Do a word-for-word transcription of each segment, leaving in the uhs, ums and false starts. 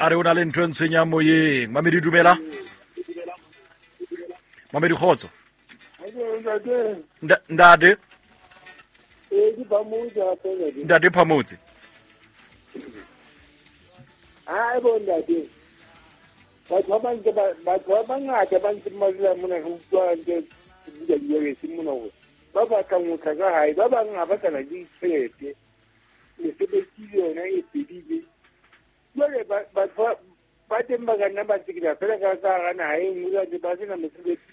A re o na le ntho e ntshwenyang moyeng. Mamedi dumela. Mamedi kgotso. Ntate. Ntate Phamotse. Ai bo ntate. Batho ba bang batho ba bangata ba ntse ba dula mona re utlwa ntse di di mona hore ba batlang ho tla ka hae, ba bang ha ba sana ditjhelete, mesebetsi le yona e fedile. Jwale batho ba teng ba ka nna ba tsekela fela ka ka hara naha e nngwe, ba sena mesebetsi.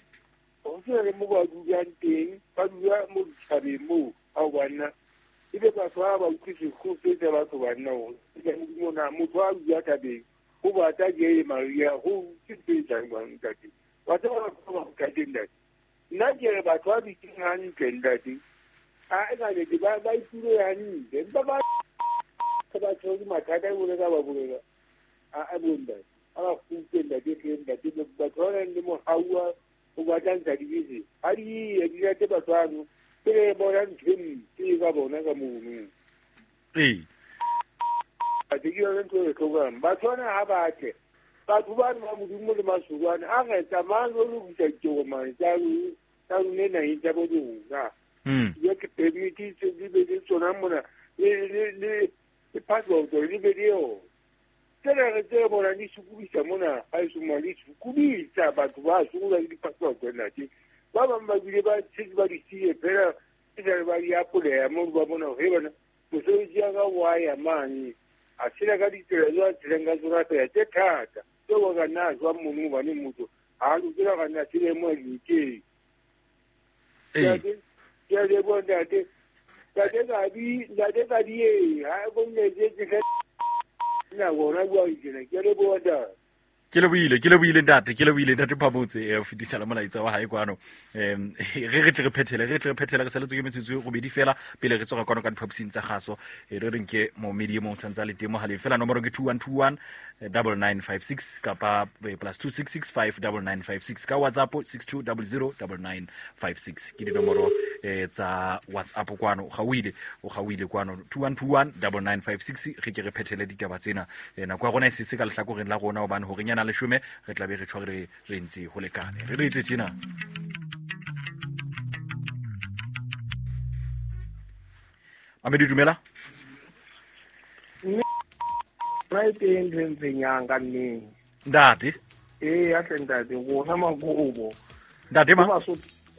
Ho sena le moo ba dulang teng, ba dula mo ditjhabeng moo ao banna. Ebe batho ba ba utlwe sekgofe tsa batho banna hore mona motho a dula thabeng ho batla ke Maria ho ke tse jang ntate. Wa tseba batho ba ntate ntate. Nna ke re batho ba dutseng hantle ntate. A e ka le ba ba itule hantle. Empa ba ba tshwere mathata e bolela ba bolela. A a bo ntate. A ba kgutle ntate ke ntate batho ba nang le mohau wa ho batla ntsha dibese. Ha di ye di rate batho bano. Pele bona ntho e mpe ka bona ka mono. Ee. Ke yona ntho e hlokang. Batho bana ha ba tle. Batho bana ba Modimo le Masurwane a re tsamayang re lokisa ditokomane tsa tsa rona naheng tsa bo rona. Ya ke permit tse di be le tsona mona le le le le passport le be le yona. Tsena re tse bona di sokodisa mona ha e soma di sokodisa batho ba sokola le di-passport ntate. Ba bang ba bile ba tshetse ba di siye fela e sa ba di apoleya mo ba bona hore bana mosebetsi ya ka wa ya mane. A tshela ka ditsela tse a tshelang ka tsona fela tse thata tseo ka nna jwang mono hobane motho ha a lokela ka nna tshele mo dikeng. Ke a leboha ntate. Ntate Kadi, ntate Kadi e ha bo nne ke nna bona bua tjena. Ke a leboha ntate. Ke lebohile, ke lebohile ntate, ke lebohile ntate Phamotse e fetisa le molaetsa wa hae kwano. Em re re tle re phethele, re tle re phethele re saletswe ke metsotso e robedi fela pele re tsoga kwano ka diphapusing tsa kgaso. E re reng ke momedi e mong santse a le teng mohaleng fela nomoro ke two one two one double nine five six kapa plus two six six five double nine five six ka WhatsApp six two double zero double nine five six ke dinomoro eh tsa WhatsApp kwano. O gauile, o gauile kwano two one two one double nine five six re ke re phethele ditaba tsena. Nako ya rona e setse ka lehlakoreng la rona hobane hore nyana leshome re tla be re tshware re ntse ho lekane. Re re itse tjena. Mamedi dumela. Nna e teng ntho e ntshwenyang ka nnete. Ntate. Ee, ya tle ntate, rona makobo. Ntate ma?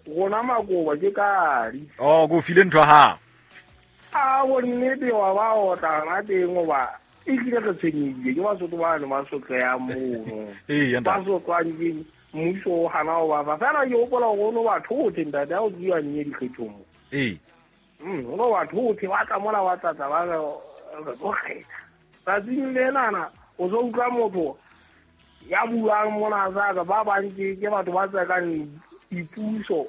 Rona makobo ke kadi. Oh, go file ntho ya hao. A bo nnete wa ba otla na teng hoba e tlile re tshwenyehile ke Basotho bano ba sotlehang mono. Ee, ba sotlwang ke mmuso o hana ho ba fa. Fela ke hopola hore o no ba thothe ntate ha o tluwa nnye dikgethong mo. Ee. Mm, o no ba thothe ba tla mola ba tlatla ba re re tlo kgetha. Tsatsing lenana o so utlwa motho ya buang mona sa ka ba bang ke ke batho ba tsekang dipuso.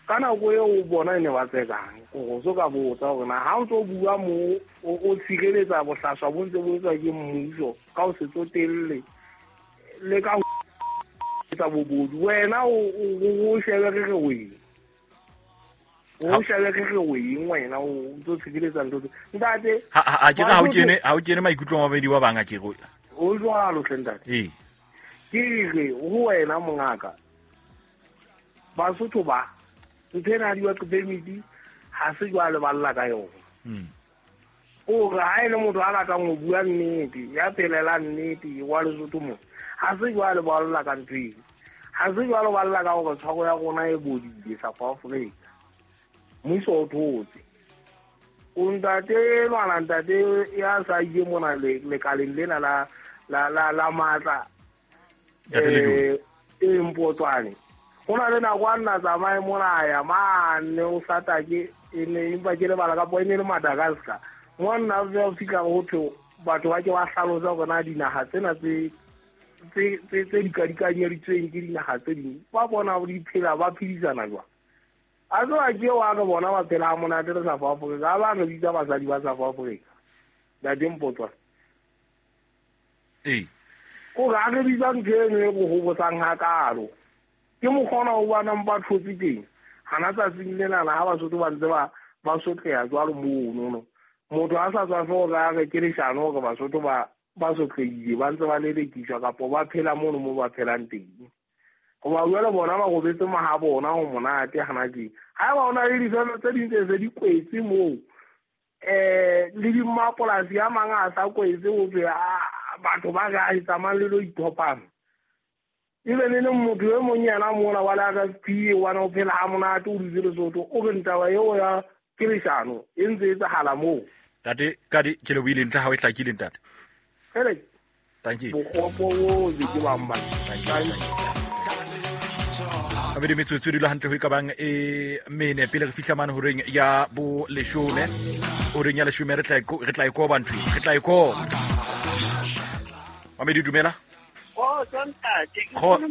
Ka nako eo o bona e ne ba tsekang o so ka botsa hore na ha o ntso bua mo o tshireletsa bohlaswa bo ntse bo etswa ke mmuso ka o se tsotelle le ka ho etsa bobodu wena o o shebe re re weng o shebe re re weng wena o ntso tshireletsa ntho ntate ha ha ke ha o kene ha o kene maikutlo a mabedi wa bang a ke go o jwalo hle ntate. Ee, ke re ho wena mongaka Basotho ba ntho ena di batlo permit ha se jwale ba lla ka yona. Mm. O re ha ele motho a batlang ho bua nnete ya phelela nnete wa Lesotho mo ha se jwale ba lla ka ntho eo. Ha se jwale ba lla ka hore tshwaro ya rona e bodile South Africa. Mmuso o thotse. O ntate lwana ntate ya sa ile mona le lekaleng lena la la la la matla. Eh e Mpotswane. Ho na le nako a nna tsamaye mona ya mane o satake e ne empa ke lebala ka e ne le Madagascar. Mo nna o fihla ho thwe batho ba ke ba hlalosa hore na dinaha tsena tse tse tse tse dikadikanyeditsweng ke dinaha tse ding ba bona di phela ba phedisana jwang. A tloha ke wa re bona ba phela ha monate le South Africa, ba re bitsa basadi ba South Africa. Ntate Mpotswane. Ee. Ko re a re bitsa ntho eno e go hobosang hakalo. Ke mokgona ho bona ba thotse teng. Hana tsatsing lena ha Basotho ba ntse ba ba sotleha jwalo mono no. Motho a sa tswa hore a re ke leshano hore Basotho ba ba sotlehile ba ntse ba lelekiswa kapa ba phela mono mo ba phelang teng. Hoba jwale bona ba robetse maha bona ho monate hana tje. Haeba ho na le difeme tse ding tse se di kwetse moo, eh le dimapolasi a mang a sa kwetse ho thwe batho ba re a tsamayang le lo ithopana. Ebe le neng motho e mong yena mona wa le R S P wa na o phela ha monate o dutse Lesotho, o re ntaba eo ya ke leshano e ntse e etsahala moo. Ntate Kadi, ke lebohile ntlha ha o e hlakile ntate. Hele. Thank you. Bokgopo bo ke ba mba. Thank you. Abedi metsotso e dula hantle ho e ka bang e mene pele re fihla mane horeng ya bo leshome. Horeng ya leshome re tla e re tla e koba ntho re tla e koba. Mamedi dumela. Oh, ntate. Nkgono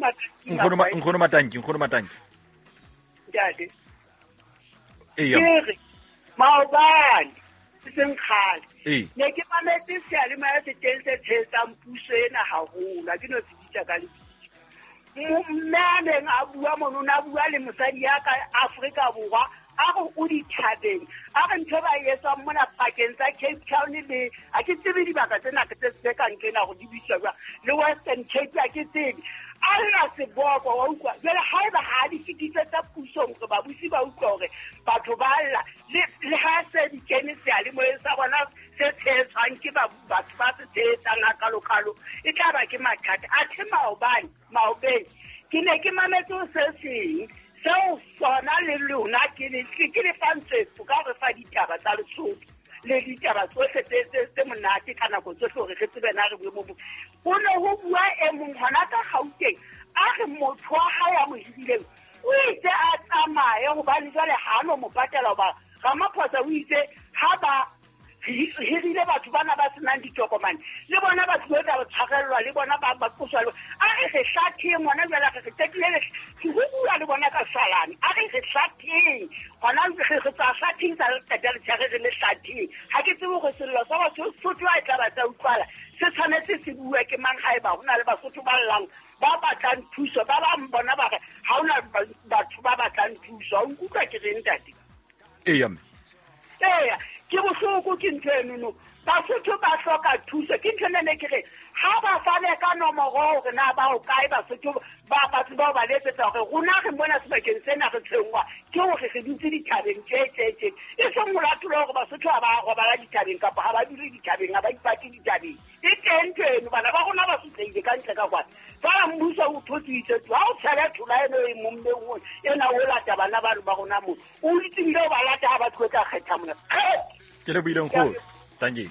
Nkgono Matanki, Nkgono Matanki. Ntate. Eya. Ke re maobane seng kgale. Ee. Ne ke mametse seyalemoya se teng se tshehetsang puso ena haholo, ha ke no se bitsa ka lebitso. Mme a neng a bua mono, o ne a bua le mosadi ya ka Afrika Borwa, a re o dithabeng, a re ntho e ba e etsang mona pakeng tsa Cape Town le ha ke tsebe dibaka tsena tse tse kang tsena hore di bitswa jwang, le Western Cape ha ke tsebe. A lla seboko wa utlwa. Jwale haeba ha di fetise tsa pusong hore babusi ba utlwa hore batho ba lla, le le ha se di kene seyalemoyeng sa bona se tshehetswang ke batho ba se tshehetsang hakalokalo, e tla ba ke mathata. Athe maobane, maobeng, ke ne ke mametse ho se seng seo sona le lona ke le ke le fa ntshwetso ka hore fa ditaba tsa Lesotho le ditaba tsohle tse tse tse monate ka nako tsohle hore re tsebe na re boemo bo. Ho ne ho bua e mong hona ka Gauteng, a re motho wa hae a mo hirileng o itse a tsamaye hobane jwale ha no mo patela hoba Ramaphosa o itse ha ba hirile batho bana ba senang ditokomane le bona ba tlilo tla tshwarellwa le bona ba ba qoswa le a re re hlatheng hona jwale re re qetile le ho bua le bona ka salane a re re hlatheng hona re re tswa hlatheng sa le qeta le tshware re le hlatheng. Ha ke tsebe hore sello sa Basotho a e tla ba tsa utlwala se tshwanetse se bue ke mang haeba ho na le Basotho ba llang ba batlang thuso, ba bang bona ba re ha hona batho ba batlang thuso. Ha o nkutlwa ke reng ntate? Eya mme. Eya, ke bohloko ke ntho enono. Basotho ba hloka thuso. Ke ntho ena ne ke re ha ba fane ka nomoro hore na ba ho kae Basotho ba batho bao ba letsetsa hore rona re mona sebakeng sena re tshwenngwa ke hore re dutse dithabeng tje tje tje. E seng molato hore Basotho ha ba robala dithabeng kapa ha ba dule dithabeng, ha ba ipate dithabeng. E teng ntho eno, bana ba rona ba sotlehile ka ntle ka kwana. Fela mmuso o thotsitse tu ha o tshela thola eno e mommeng o ena o lata bana ba ba rona mo. O itsebile o ba lata ha ba tlo tla kgetha mona. Ke lebohile nkgono. Thank you.